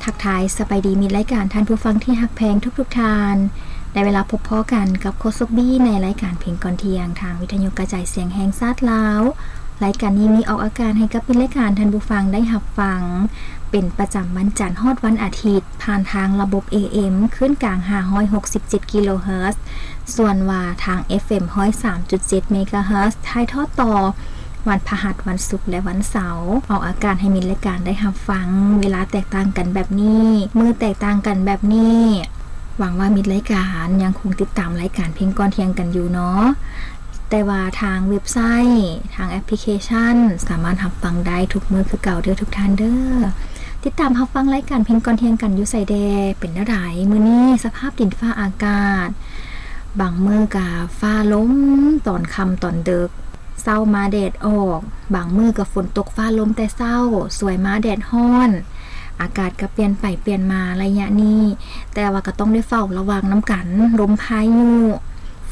ທັກທາຍສະບາຍດີມິດລາຍການ ທ່ານຜູ້ຟັງທີ່ຮັກແພງທຸກໆທ່ານ. ໄດ້ເວລາພົບພໍ້ກັນກັບໂຄສົກບີໃນລາຍການເພງກ່ອນທ່ຽງ ທາງວິທະຍຸກະຈາຍສຽງແຫ່ງຊາດລາວ. ລາຍການນີ້ມີອອກອາກາດໃຫ້ກັບມິດລາຍການທ່ານຜູ້ຟັງໄດ້ຮັບຟັງ ເປັນປະຈຳວັນຈັນຮອດວັນອາທິດ ຜ່ານທາງລະບົບ ເອເອັມ ຄື້ນກາງ ຫ້າຮ້ອຍຫົກສິບເຈັດ ກິໂລເຮີດ, ສ່ວນວ່າທາງ ເອັຟເອັມ ຮ້ອຍສາມຈຸດເຈັດ ເມກາເຮີດ ຖ່າຍທອດຕໍ່ ວັນພະຫັດ, ວັນສຸກ ແລະ ວັນເສົາ. ອອກອາກາດໃຫ້ມິດລາຍການໄດ້ຮັບຟັງ ເວລາແຕກຕ່າງກັນແບບນີ້, ມື້ແຕກຕ່າງກັນແບບນີ້. ຫວັງວ່າມິດລາຍການຍັງຄົງຕິດຕາມລາຍການເພງກ່ອນທ່ຽງກັນຢູ່ເນາະ. ແຕ່ວ່າທາງເວັບໄຊ, ທາງແອັບພລິເຄຊັນ ສາມາດຮັບຟັງໄດ້ທຸກມື້ຄືເກົ່າເດີທຸກທ່ານເດີ. ຕິດຕາມຮັບຟັງລາຍການເພງກ່ອນທ່ຽງກັນຢູ່ໃສແດ່? ເປັນແນວໃດ? ມື້ນີ້ສະພາບດິນຟ້າອາກາດ, ບາງມື້ກະຟ້າລົມຕອນຄ່ຳຕອນເດິກ, ເຊົ້າມາແດດອອກ, ບາງມື້ກະຝົນຕົກຟ້າລົມແຕ່ເຊົ້າ, ສວຍມາແດດຮ້ອນ. ອາກາດກະປ່ຽນໄປປ່ຽນມາໄລຍະນີ້, ແຕ່ວ່າກະຕ້ອງໄດ້ເຝົ້າລະວັງນຳກັນ. ລົມພາຍຸ,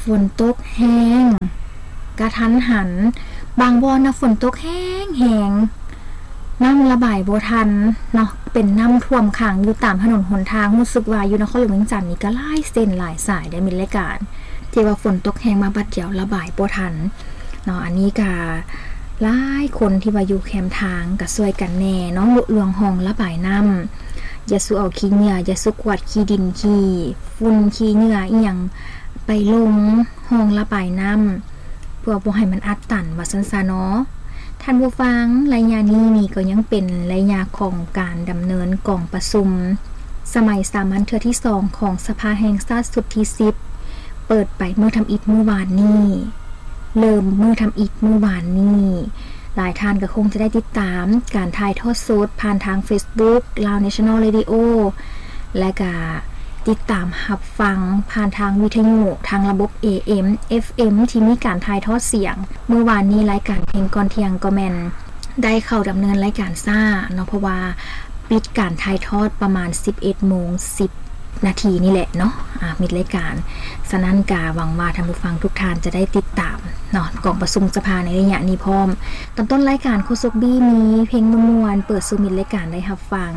ຝົນຕົກແຮງ, ກະທັນຫັນ, ບາງບ່ອນນະ ຝົນຕົກແຮງໆ, ນ້ຳລະບາຍບໍ່ທັນເນາະ, ເປັນນ້ຳຖ້ວມຂັງຢູ່ຕາມຖະໜົນຫົນທາງ. ຮູ້ສຶກວ່າຢູ່ນະຄອນຫຼວງວຽງຈັນນີ້ກະຫຼາຍເສັ້ນຫຼາຍສາຍເດ້ມິດລາຍການ ທີ່ວ່າຝົນຕົກແຮງມາບາດດຽວລະບາຍບໍ່ທັນເນາະ. ອັນນີ້ກະຫຼາຍຄົນທີ່ວ່າຢູ່ແຄມທາງກະຊ່ວຍກັນແດ່ເນາະ, ລຸລວງຮ່ອງລະບາຍນ້ຳ, ຢ່າສູ່ເອົາຂີ້ເຫຍື້ອ, ຢ່າສູ່ກວາດຂີ້ດິນ, ຂີ້ຝຸ່ນ, ຂີ້ເຫຍື້ອອີ່ຫຍັງໄປລົງຮ່ອງລະບາຍນ້ຳ ເພື່ອບໍ່ໃຫ້ມັນອັດຕັນ ວ່າຊັ້ນຊະເນາະ. ທ່ານຜູ້ຟັງ, ໄລຍະນີ້ນີ້ກໍຍັງເປັນໄລຍະຂອງການດຳເນີນກອງປະຊຸມສະໄໝສາມັນເທື່ອທີສອງຂອງສະພາແຫ່ງຊາດຊຸດທີສິບ ເປີດໄປມື້ທຳອິດມື້ວານນີ້, ເລີ່ມມື້ທຳອິດມື້ວານນີ້. ຫຼາຍທ່ານກໍຄົງຈະໄດ້ຕິດຕາມການຖ່າຍທອດສົດຜ່ານທາງເຟສບຸກ Lao National Radio ແລະກະຕິດຕາມຮັບຟັງຜ່ານທາງວິທະຍຸ ທາງລະບົບ ເອເອັມ ເອັຟເອັມ ທີ່ມີການຖ່າຍທອດສຽງ. ມື້ວານນີ້ລາຍການເພງກ່ອນທ່ຽງກໍແມ່ນໄດ້ເຂົ້າດຳເນີນລາຍການຊ້າເນາະ, ເພາະວ່າປິດການຖ່າຍທອດປະມານສິບເອັດໂມງສິບນາທີນີ້ແຫຼະເນາະ, ອາ ມິດລາຍການ. ສະນັ້ນກະຫວັງວ່າທ່ານຜູ້ຟັງທຸກທ່ານຈະໄດ້ຕິດຕາມເນາະ ກອງປະຊຸມສະພາໃນໄລຍະນີ້ພ້ອມ. ຕອນຕົ້ນລາຍການໂຄສົກບີມີເພງມ່ວນໆ ເປີດສູ່ມິດລາຍການໄດ້ຮັບຟັງ.